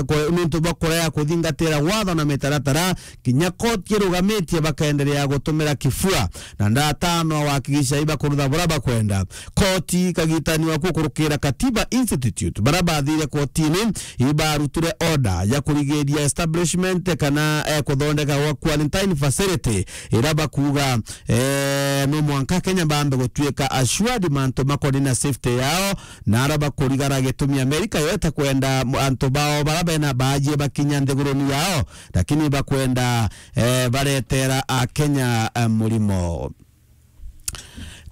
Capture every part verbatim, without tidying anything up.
ku-, nontu bwa kurea kuthingatira watho na mitaratara, kinya koti irugamitie bakaendelea gutumira kifua, na ndatano wakigisha ibakurutha bura bakwenda. Koti kagitani wa kukurukira Katiba Institute, bara bathire kotini, ibarutire order ya kurigiria establishment kana, eh, kuthondeka gwa quarantine facility, ira bakuga, eh, no mwanka Kenya bambe gutuika assured mantu makoni na safety yao, na ara bakurigara gitumi Amerika yo itakwenda m-, antu bao bara bena baajie bakinya nthiguruni yao, lakini bakwenda, eh, baretera a Kenya, eh, murimo.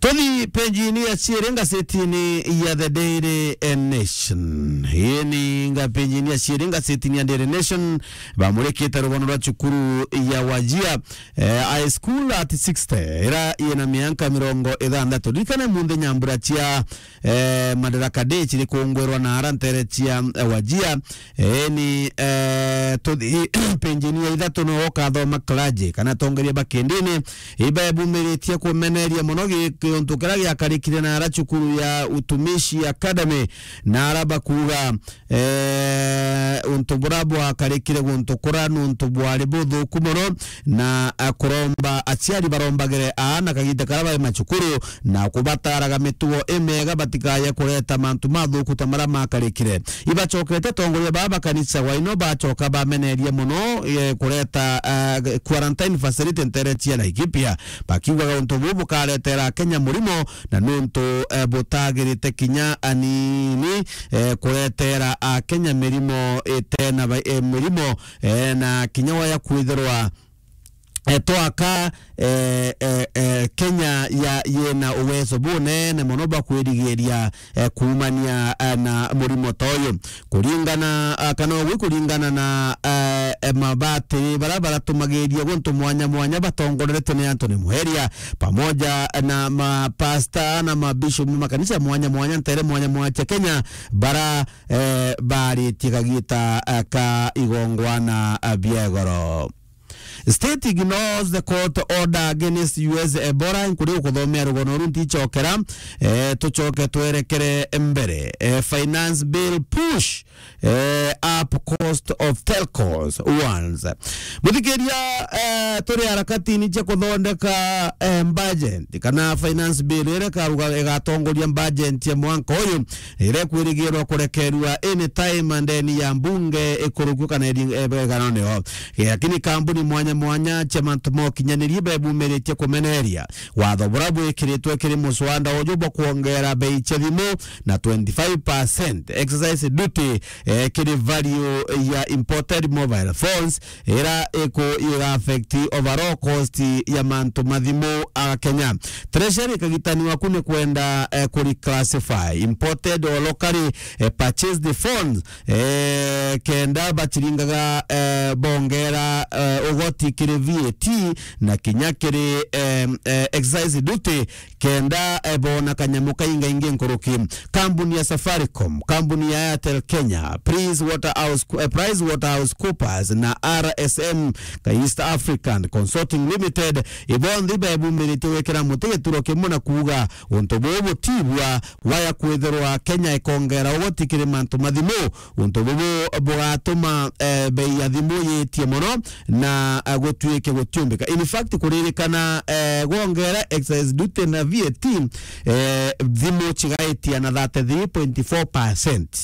Tuthi page-ini ya ciiri ngazetini ya The Daily, eh, Nation. Ii ni nga page-ini ya ciiri ngazetini ya Daily Nation, bamurikite rugono rwa cukuru ya Wajia, eh, High School at sixty, ira ina mianka mirongo ithanthatu. Ririkane munthi nyambura cia, eh, Madaraka Day ciri kungwirwa na ara ntere cia, eh, Wajia. Eni, eh, tuthi page-ini ya ithatu no ukathoma clergy kana atongeria ba kindini ibebumiritie kumeneria mono gi-, giuntu kiria giakarikire na ara cukuru ya Utumishi Academy, na ara bakuga, eh, untu bura bwakarikire guntu kura nuntu bwari buthuku mono, na, eh, kuromba aciari barombagire aana kagiita karia bari macukuru, na kubataraga mitugo imega batikaye kureta mantu mathuku ta maria makarikire. Ibacokete atongoria baa ba kanisa wa ino bacoka bamenerie mono, eh, kureta, eh, quarantine facility ntere cia Laikipia, bakiugaga untu buu bukaretera Kenya murimo, na nuntu, eh, butagirite kinya anini, eh, kuretera Akenya mirimo itena ba-, eh, mirimo, eh, na kinya waya kwithirwa eh, twaka, eh, eh, eh, Kenya ya, yena uwezo bunene mono bwa kwirigiria, eh, kuumania, eh, na murimo ta uyu. Kuringana, ah, kana ugwi kuringana na, eh, eh, mabatiri bara baratumagiria guntu mwanya mwanya batongoreretwe ni Anthony Muheria, pamoja na mapasta na mabishop ma makanisa mwanya mwanya, ntere mwanya mwanya cia Kenya, bara, eh, baritie kagita, eh, ka igongwana, eh, bia igoro. State ignores the court order against U S Ebola. Nkuri ukuthomea rugono ru ntichokera. Eh, tuchoke twerekere mbere. Eh, finance bill push, eh, up cost of telcos once. Muthikiria, eh, turi harakatini cia kuthondeka, eh, budget kana finance bill ira ikaruga-, igatongoria budget ya mwanka uyu, ira ikwirigirwa kurekerua anytime ndeni ya mbunge ikurukio kana iri-, eh, iganone o. Eh, lakini kambuni mwanya mwanya cia mantu ma ukinyaniria ibebumiritie kumeneria watho bura bwikiritwe kiri muswanda uju bwa kwongera bei cia thimu na twenty-five percent excise duty, eh, kiri value ya imported mobile phones, ira iku-, iga affect overall cost ya mantu ma thimu a Kenya. Treasury kagitani waku ni kwenda, eh, ku reclassify imported or locally, eh, purchased phones, eh, kenda bachiringaga, eh, bongera, eh, ugoti kiri V A T na kinya kiri, eh, eh, excise duty, kenda, eh, bona kanyamu kaingaingi nkuruki. Kambuni ya Safaricom, kambuni ya Airtel Kenya, Price Waterhouse, eh, PricewaterhouseCoopers na R S M East African Consulting Limited, ibonthe ibebumiritie gwikira muti gituro kimwe na kuuga untu buu butibua waya kwithirwa Kenya ikongera ugoti kiri mantu ma thimu. Untu bubu bugatuma, eh, bei ya thimu yitie mono na, eh, gutuike gutiumbika. In fact, kuririkana, eh, gwongera excise duty na V A T, eh, thimu chigaitia na thirty-three point four percent.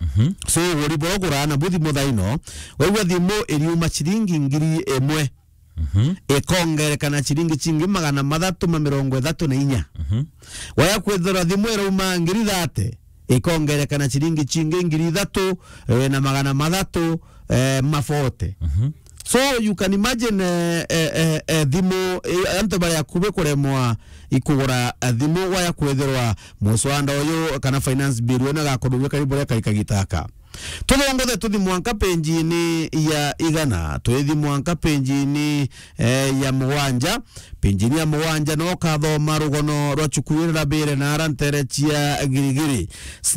Mhm. So, uguri buria uguraga nabu thimu thaino, waigua thimu iriuma chiringi ngiri imwe, mhm, ikongereka na chiringi chingi magana mathatu ma mirongo ithatu na inya. Mhm. Waya kwithirwa thimu irauma ngiri thate, ikongereka na chiringi chingi ngiri ithatu, eh, na magana mathatu, eh, ma forty. Mhm. So you can imagine, eh, eh, eh, eh, thimu, eh, antu bari akubi kuremwa ikugura, eh, thimu waya kwithirwa muswanda uyu kana finance bill uyu nagakururika ribu ria kaika gitaka. Tuthongothe tuthi mwanka penjini ya igana, twithi mwanka penjini, eh, ya mugwanja. Penjini ya mugwanja no kathoma rugono rwa cukuru ira rabire na ara ntere cia Girigiri.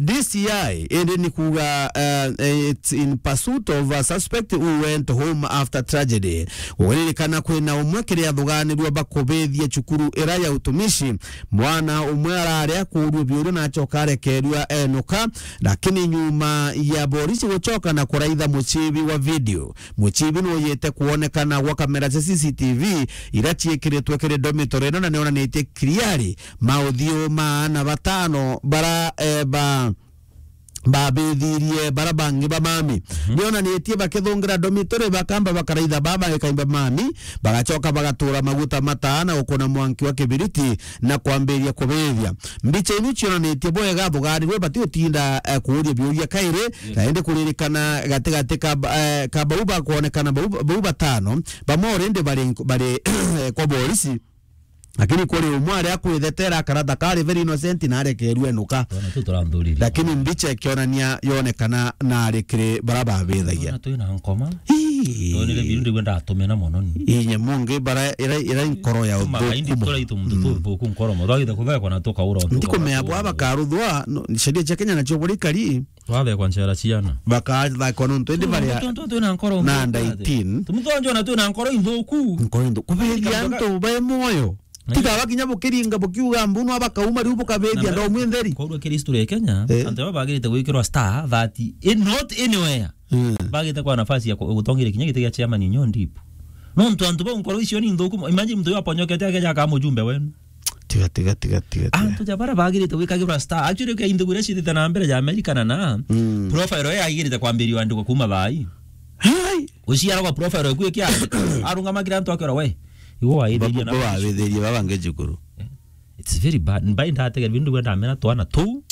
D C I indi ni kuga, eh, it's in pursuit of a suspect who went home after tragedy. Guririkana kwina umwe kiri athuganirua bakubithia cukuru ira ya utumishi. Mwana umwe arari akuurua biuru na acoka arekerua enuka, lakini nyuma ya Borisi gucoka na kuraitha mucibi wa video. Mucibi nuyite kwonekana gwa kamera cia C C T V ira ciikiritwe kiri dormitory ino, na nionanitie clearly mauthiu ma aana batano bara, eh, ba, babithirie bara bangi ba mami. Mhm. Nionanitie bakithungira dormitory, bakamba bakaraitha baba ikaimba mami, bagacoka bagatura maguta mataa na gukuna mwanki wa kibiriti na kwambiria kubithia. Mbicha inu cionanitie bwega thugarirwe bati utinda, eh, kuuria biuria kairi, na indi kuririkana gatigati ka, eh, ka bau bakwonekana bau, bau batano, bamwe already bari, bari kwa borisi. Lakini kuri umwe aria akwithetera akarata kari very innocent na arekerue enuka. Twana tu turanthuriri. Lakini mbicha ikionania yonekana na ari kiri bara babithagia. Twana twina nkoma. Ii. Tonire biu ndigwe ndatumena mono ni. Inye mungi bara ira, ira nkoro ya uthuku. Maindi kura itu muntu tu thuku nkoro mo. Twagite kuthekwa na tukaura. Ndikumea bwa bakaruthwa, no, sheria cia Kenya nacio buri kari. Twathekwa nchera ciana. Bakathekwa nontu indi baria. Tontu twina nkoro na under eighteen. Tumutonjo na twina nkoro inthuku. Nkoro inthuku. Kubethia antu bai moyo. Tiga bakinya bukiringa bukiuga mbuno abakauma riu bukabethia ndo mwintheri. Korwa kiri history ya Kenya, eh, antu aba bagirite gwikirwa star that in not anywhere. Mm. Bagite kwa nafasi ya ku-, gutongeria kinya giti gia chairman inyo ndipo. Nontu antu bau nkoro icio ni nthuku. Imagine muntu uyu aponyokete akeja aka mujumbe wenu. Tiga, tiga, tiga, tiga, tiga. Antu ja bara bagirite gwikagirwa star. Actually, ukia inthugu iria cithite na mbere ja America na na, mm, profile iyo yagirite kwambirio andikwa kuma thaa ii. Hai. Uciara kwa profile eku ikia arungama kira antu akera we. Igo waithiria na bo wabithirie baba nge cukuru. It's very bad. Mbai ndategera bindu gwenda mena twana tu.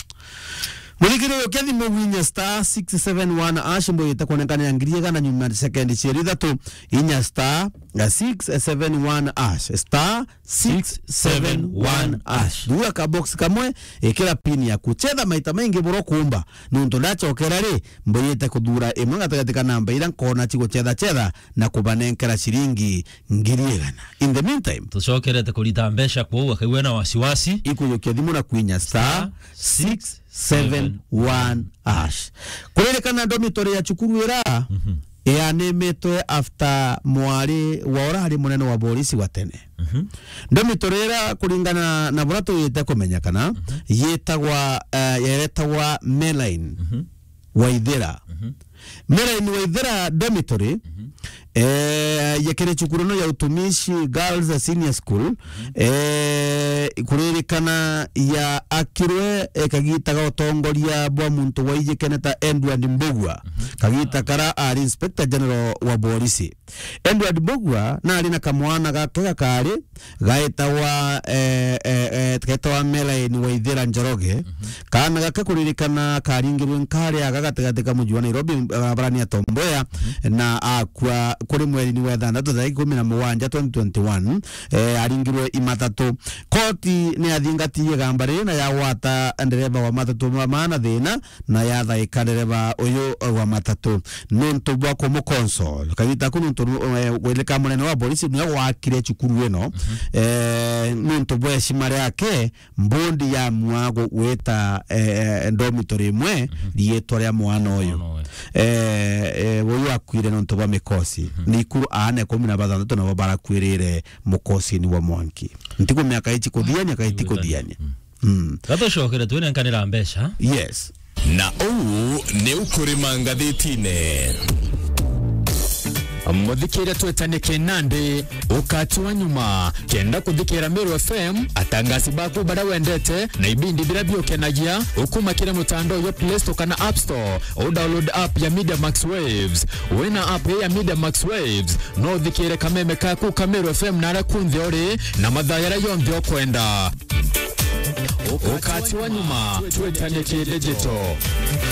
Muthikiriria ukia thimu winya star six seven one hash, mbo yita kuonekana ya ngiri igana nyuma sekendi cieri ithatu, inya star six seven one hash, star six seven one hash. Thura ka box kamwe, ikira pin yaku. Chetha maita maingi buro kumba. Nuntu ndachokera ri, mbo yite kuthura imwe gatigati ka namba ira nkona ciguchetha chetha na kubanenkera ciringi ngiri igana. In the meantime, tucokerete kurita mbeca kwou, akaigua na wasiwasi. Ikuyukia thimu na kwinya star six seven one hash. Kuririkana dormitory ya cukuru ira, mhm, yanimitwe after mwari wa urari munene wa borisi wa tene. Mhm. Dormitory ira, kuringana na bura tuyite kumenyekana, mhm, yitagwa, eh, yeretagwa Meline. Mhm. Waithira. Mhm. Meline Waithira Dormitory, mhm, eh, ya kiri cukuru no ya utumishi Girls Senior School, mhm, eh, kuririkana ya akirwe, eh, kagita ga utongoria bwa muntu waijikene ta Edward Mbugua, mhm, kagita kara ari Inspector General wa borisi. Edward Mbugua nari na kamwana gake gakari gaetagwa, eh, eh, eh, gaetagwa Melaine Waithira Njoroge. Mhm. Kaana gake kuririkana karingirwe nkari aga gatigati ka muji wa Nairobi, barabarani ya Tom Mboya, mhm, na akua kuri mweri-ini wa ithanthatu, tariki ikumi na mugwanja, twenty twenty-one, eh, aringirwe i matatu. Koti ni yathingatirie igamba riri na yagwata ndereba wa matatu ma maana thina, na yathaika ndereba uyu wa matatu nuntu bwa kumuconsole. Kagita ku nuntu, eh, gwilika munene wa borisi niwe gwakire cukuru ino, mhm, eh, nuntu bwa heshima riake, mbondi yamua gu-, gwita, eh, dormitory imwe, mhm, riitwa ria mwana uyu. Mwana uyu. Eh, eh, uyu akuire nuntu bwa mikosi. Mhm. Ni ikuru aana ikumi na bathanthatu nabo barakuirire mukosini wa mwanki. Ntiku miaka ici kuthiania, kaiti kuthiania. Mm. Mm. Gatucokere twinenkanira mbeca. Yes. Na uu ni ukurima ngathitine. Muthikiria twetanie kinandi, ukati wa nyuma. Kenda kuthikira Meru F M, atangasi baku baria wendete, na ibindi biria biukenagia, ukuma kiri mutandao jwa Play Store kana App Store, u download app ya Media Max Waves. Wina app ya Media Max Waves, no uthikire kameme kaku ka Meru F M na aria kunthe uri, na mathaa jaria jonthe ukwenda. Ukati wa nyuma, twetanie ki digital.